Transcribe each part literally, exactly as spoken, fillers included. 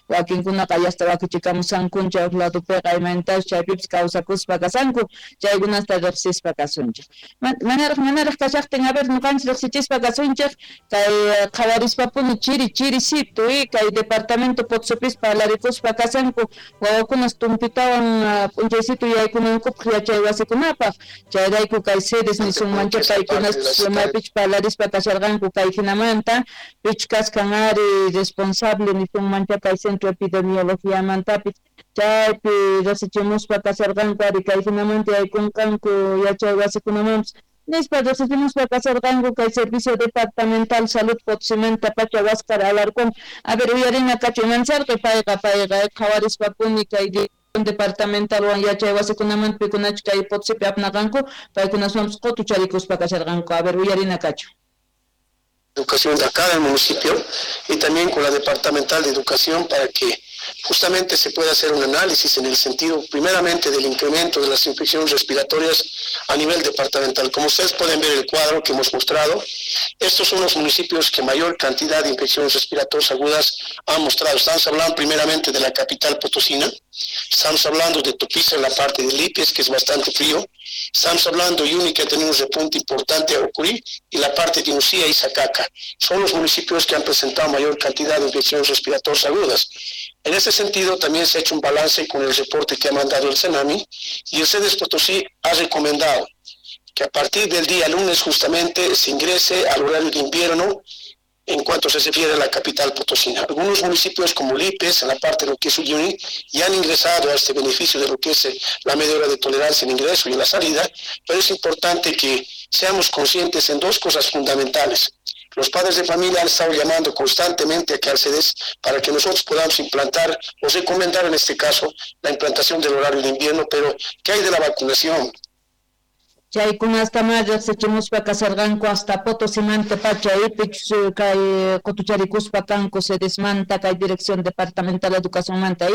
Wakinkunaqa yasta wakichikamusankuncha huk ladopiqa imaynatachus chaypipis kawsakuspa kasanku, chaykunasta riqsispa kasunchik. Manaraq manaraq kashaqtin, a ver, ñuqanchik riqsichispa kasunchik kay qhawarispapuni chiri chirisitu kay departamento Potosipis parlarikuspa kasanku wawakunas tumpitawan p'unchaysitu yaykunankupaq yachay wasikunapaq, chayrayku kay sedes nisunmancha paykunas maypichus parlarispa kasharqanku kay hinamanta pichus kaskan ari responsable nisunmancha kay centro epidemiologiamantapis chaypi riqsichimuspa kasharqanku ari kay hinamanta yaykunqanku yachay wasikunamanpis nispa riqsichimuspa kasharqanku kay servicio departamental salud Potosimanta pacha Huáscar Alarcón. A ver, uyarina kachu imancharqi payqa payqa qhawarispapuni kay departamentalwan yachay wasikunamanta pikunachu kay Potosipi apnaqanku paykunaswanpis qutucharikuspa kasharqanku. A ver, uyarina kachu. Educación de acá del municipio y también con la departamental de educación para que justamente se pueda hacer un análisis en el sentido primeramente del incremento de las infecciones respiratorias a nivel departamental. Como ustedes pueden ver el cuadro que hemos mostrado, estos son los municipios que mayor cantidad de infecciones respiratorias agudas han mostrado. Estamos hablando primeramente de la capital potosina, estamos hablando de Tupiza en la parte de Lípez, que es bastante frío, estamos hablando de Uyuni, que ha tenido un repunte importante a ocurrir, y la parte de Uncía y Sacaca. Son los municipios que han presentado mayor cantidad de infecciones respiratorias agudas. En ese sentido, también se ha hecho un balance con el reporte que ha mandado el SENAMHI, y el SEDES Potosí ha recomendado que a partir del día lunes justamente se ingrese al horario de invierno en cuanto se refiere a la capital potosina. Algunos municipios como Lípez, en la parte de lo que es Uyuni, ya han ingresado a este beneficio de lo que es la media hora de tolerancia en ingreso y en la salida, pero es importante que seamos conscientes en dos cosas fundamentales. Los padres de familia han estado llamando constantemente a al para que nosotros podamos implantar o recomendar en este caso la implantación del horario de invierno, pero ¿qué hay de la vacunación? Chaykunasta ma riqsichimuspa kasarqanku hasta Potosimanta pacha ipichus kay qutucharikuspa kanku sedesmanta kay dirección departamental educacionmanta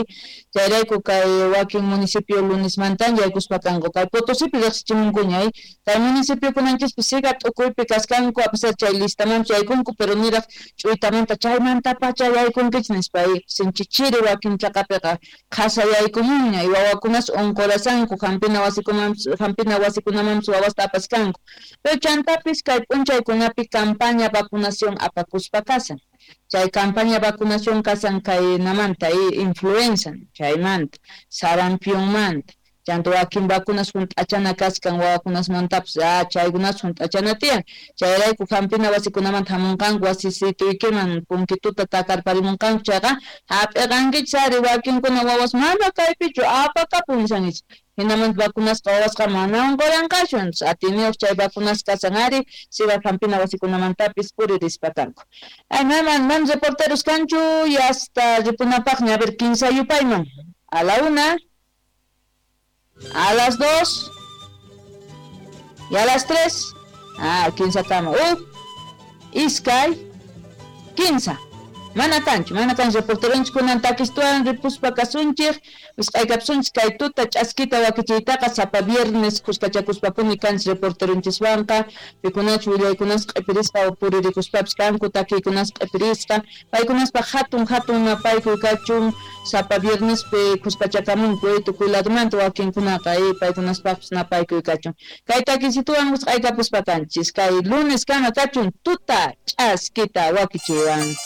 chayrayku kay wakin municipio lunesmantan yaykuspa kanku kay Potosipi riqsichimunkuña kay municipiokunanchispi siga t'ukuypi kaskanku a pesar chay listamanpis yaykunku pero niraq ch'uytamanta chaymanta pacha yaykunkichis nispa sinchi chiri wakin chaqapiqa qhasa yaykumunña y wawakunas unqurasanku hampina wasikumanpis hampina wasikunamanpis wawasta apaskanku. Pero chantapis kay p'unchaykunapi campaña vacunación apakuspa kasan. Chay campaña vacunación kasan kay namanta influenza chaymanta sarampionmanta chanta wakin vacunas hunt'achana kaskan wawakunasmantapis ah chaykunas hunt'achana tiyan chayrayku hampina wasikunamanta hamunqanku wasisituykiman punkituta takarparimunqanku chayqa hap'iqankichis ari wakinkuna wawas mana kaypichu apakapun nishankichis hinamanta vacunasqa wawasqa mana unquranqachu atiniyuq chay vacunas kasan ari siga hampina wasikunamantapis puririspa kanku. Ay maman man reporteros kanchu y hasta ripunapaqña a ver kinsa yupayman a la una, a las dos y a las tres. Ah, kinsa kama. Uh, iskay, kinsa. Mana kanchu, mana kanchu reporteronchik kunan takistuwan ripuspa kasunchik, wisq'aykapsunchik kay tuta ch'askita wakichiytaqa sapa viernes kuskachakuspapuni kanchis reporteronchiswanqa, pikunachu willaykunas q'ipirisqa puririkuspapis kanku, takiykunas q'ipirisqa, paykunaspaq hatun hatun napaykuy kachun sapa viernespi kuskachakamunku tukuy ladomanta wakinkunaqa paykunaspaqpis napaykuy kachun. Kay takisituwan wisq'aykapuspa kanchis, kay lunes kama kachun tuta ch'askita wakichiywan.